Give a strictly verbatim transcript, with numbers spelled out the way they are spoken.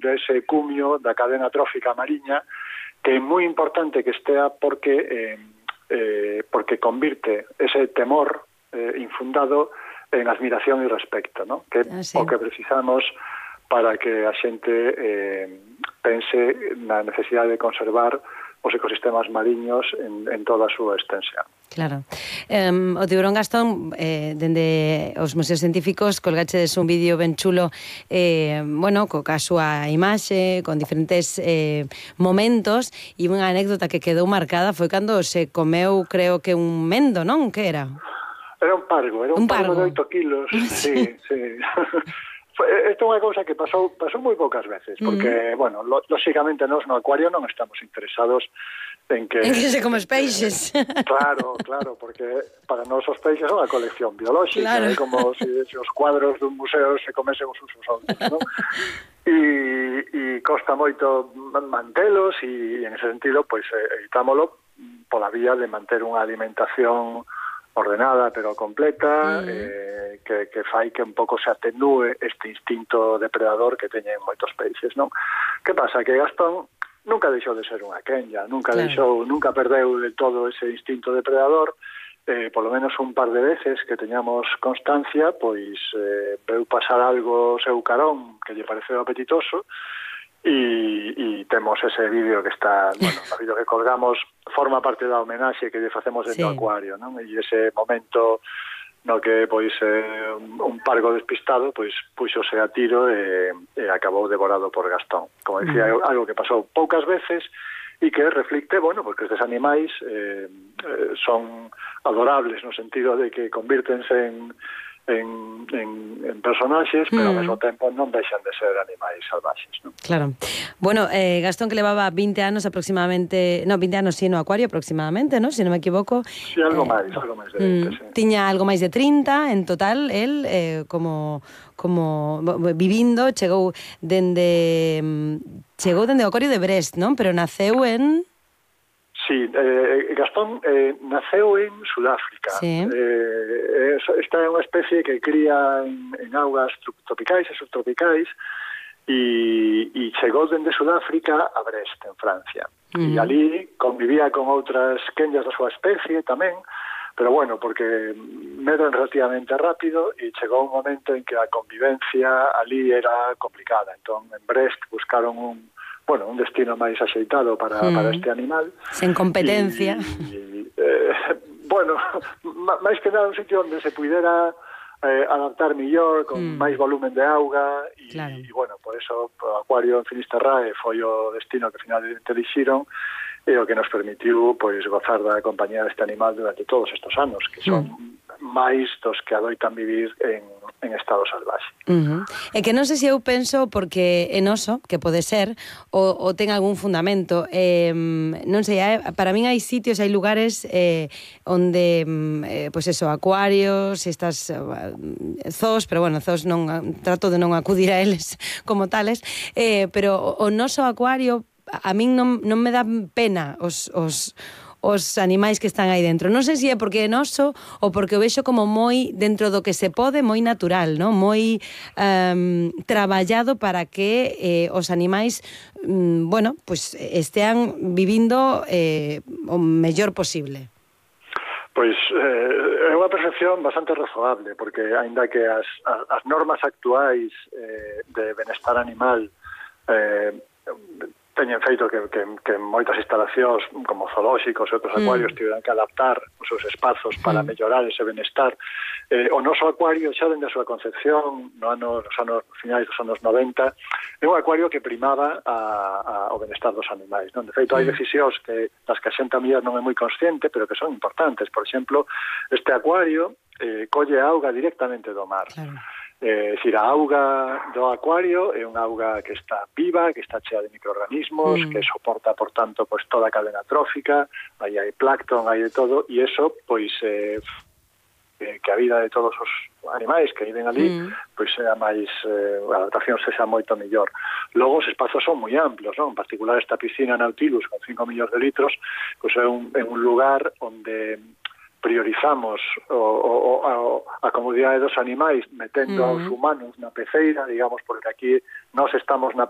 dese cumio da cadena trófica mariña, que é moi importante que estea porque eh, eh, porque convirte ese temor eh, infundado en admiración e respecto, ¿no? Que é ah, sí. o que precisamos para que a xente eh, pense na necesidade de conservar os ecosistemas mariños en, en toda a súa extensión. Claro. Um, o Tiburón Gastón, eh, dende os museos científicos, colgachedes un vídeo ben chulo, eh, bueno, co ca súa imaxe, con diferentes eh, momentos, e unha anécdota que quedou marcada foi cando se comeu, creo que un mendo, non? Que era? Era un pargo, era un, un pargo, pargo de oito kilos. Sí, sí. Isto é unha cousa que pasou pasou moi poucas veces, porque, mm. bueno, lo, lóxicamente nós no acuario non estamos interesados en que... En que se come os peixes. Claro, claro, porque para nós os peixes son a colección biolóxica, claro. É como se, se os cuadros dun museo se comesen os usos outros, non? E, e costa moito mantelos e, en ese sentido, pois, evitámolo pola vía de manter unha alimentación ordenada pero completa, mm. eh, que, que fai que un pouco se atenúe este instinto depredador que teñen moitos peixes, non? Que pasa? Que Gastón nunca deixou de ser unha quenya, nunca claro. deixou, nunca perdeu de todo ese instinto depredador, eh, polo menos un par de veces que teñamos constancia, pois eh, veu pasar algo seu carón que lle pareceu apetitoso, e, e temos ese vídeo que está, bueno, o vídeo que colgamos forma parte da homenaxe que lle facemos dentro do sí. acuario, non? E ese momento no que pois eh, un pargo despistado pois puxose a tiro e, e acabou devorado por Gastón. Como dicía, mm. algo que pasou poucas veces e que reflicte, bueno, porque estes animais eh, eh, son adorables no sentido de que convírtense en En, en, en personaxes, pero mm. ao mesmo tempo non deixan de ser animais salvaxes, non? Claro. Bueno, eh, Gastón, que levaba vinte anos aproximadamente, no, vinte anos sí no acuario aproximadamente, ¿no? Se si non me equivoco. Sí, algo eh, máis, algo máis de vinte, mm, sí. Tiña algo máis de trinta en total, el eh, como como vivindo, chegou dende chegou dende o acuario de Brest, non? Pero naceu en... Sí, eh, Gastón eh, naceu en Sudáfrica. Sí. Eh, esta é unha especie que cría en, en augas tropicais e subtropicais e, e chegou dende Sudáfrica a Brest, en Francia. Uh-huh. E ali convivía con outras quenyas da súa especie tamén, pero bueno, porque medran relativamente rápido e chegou un momento en que a convivencia ali era complicada. Entón, en Brest buscaron un bueno, un destino máis axeitado para, mm. para este animal. Sen competencia. E, e, eh, bueno, máis que nada un sitio onde se pudera eh, adaptar millor, con mm. máis volumen de auga, e, claro. e bueno, por eso o acuario en Finisterrae foi o destino que finalmente elixiron, e o que nos permitiu pois gozar da compañía deste animal durante todos estes anos, que son mm. máis dos que adoitan vivir en, en estado salvaxe. Uh-huh. E que non sei se eu penso porque en oso, que pode ser, ou, ou ten algún fundamento, eh, non sei, eh, para min hai sitios, hai lugares eh, onde, eh, pois eso, acuarios, estas eh, zoos, pero bueno, zoos non, trato de non acudir a eles como tales, eh, pero o, o noso acuario a min non, non me dan pena os, os, os animais que están aí dentro. Non sei se é porque é noso ou porque o vexo como moi dentro do que se pode, moi natural, non? Moi um, traballado para que eh, os animais um, bueno, pues estean vivindo eh, o mellor posible. Pois eh, é unha percepción bastante razoable, porque aínda que as, as, as normas actuais eh, de benestar animal eh, teñen feito que, que, que moitas instalacións como zoolóxicos e outros acuarios mm. tiveran que adaptar os seus espazos para mm. mellorar ese benestar. Eh, o noso acuario xa dende a súa concepción no ano, nos anos finais dos anos noventa é un acuario que primaba a, a, o benestar dos animais, non? De feito, mm. hai decisións que das que a xente a mellor non é moi consciente, pero que son importantes. Por exemplo, este acuario eh, colle a auga directamente do mar. Claro. Eh, decir, a auga do acuario é unha auga que está viva, que está chea de microorganismos, mm. que soporta, por tanto, pues, toda a cadena trófica, aí hai plancton, hai de todo, e eso, pois, eh, que a vida de todos os animais que viven ali, mm. pois sea máis, eh, a adaptación sexa moito mellor. Logo, os espazos son moi amplios, non? En particular, esta piscina Nautilus, con cinco millóns de litros, pois é un, é un lugar onde priorizamos o, o, a, a comodidade dos animais metendo mm. aos humanos na peceira, digamos, porque aquí nós estamos na peceira